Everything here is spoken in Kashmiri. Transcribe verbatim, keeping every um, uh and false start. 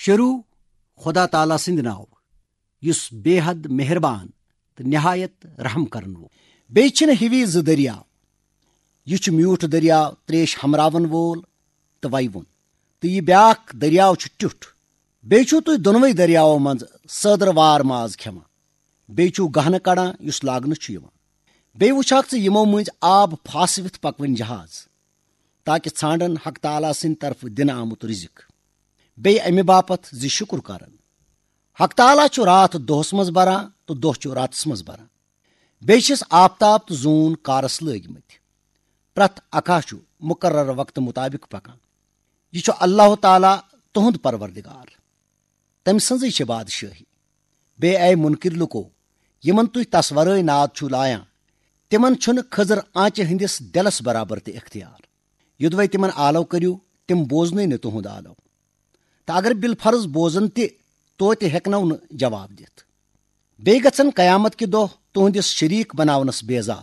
شروع خدا تعالیٰ سٕنٛدِ ناوٕ، یُس بے حد مہربان تہٕ نہایت رحم کرن وول۔ بیٚیہِ چھِنہٕ ہِوی زٕ دٔریاو۔ یہِ چھُ میوٗٹھ دٔریاو، ترٛیش ہمراون وول تہٕ وَیوُن، تہٕ یہِ بیٛاکھ دٔریاو چھُ ٹیُٹھ۔ بیٚیہِ چھِو تُہۍ دۄنوَے دٔریاوو منٛز سٲدرٕ وار ماز کھٮ۪وان۔ بیٚیہِ چھِو گہنہٕ کڑان، یُس لاگنہٕ چھُ یِوان۔ بیٚیہِ وٕچھاکھ ژٕ یِمو مٔنٛزۍ آب پھاسوِتھ پکوٕنۍ جہاز، تاکہِ ژھانڈن حق تعالیٰ سٕنٛدِ طرفہٕ دِنہٕ آمُت رزق۔ بیٚیہِ امہِ باپتھ زِ شُکر کرن۔ حق تعالیٰ چھُ راتھ دۄہس منٛز بران تہٕ دۄہ چھُ راتس منٛز بران۔ بیٚیہِ چھِس آفتاب تہٕ زوٗن کارس لٲگۍ مٕتۍ۔ پرٛٮ۪تھ اکھا چھُ مُقرر وقتہٕ مُطابق پکان۔ یہِ چھُ اللہ تعالیٰ تُہُنٛد پروردگار۔ تٔمۍ سٕنٛزٕے چھِ بادشٲہی۔ بیٚیہِ اے مُنکِر لُکو، یِمن تُہۍ تس ورٲے ناد چھِو لایان، تِمن چھُنہٕ خٔزٕر آنچہِ ہٕنٛدِس دِلس برابر تہِ اختیار۔ یوٚدوَے تِمن آلو کٔرِو، تِم بوزنٕے نہٕ تُہُنٛد آلو۔ تہٕ اگر بالفرض بوزن تہِ، توتہِ ہٮ۪کنو نہٕ جواب دِتھ۔ بیٚیہِ گژھن قیامت کہِ دۄہ تُہنٛدِس شریٖک بناونس بیزار،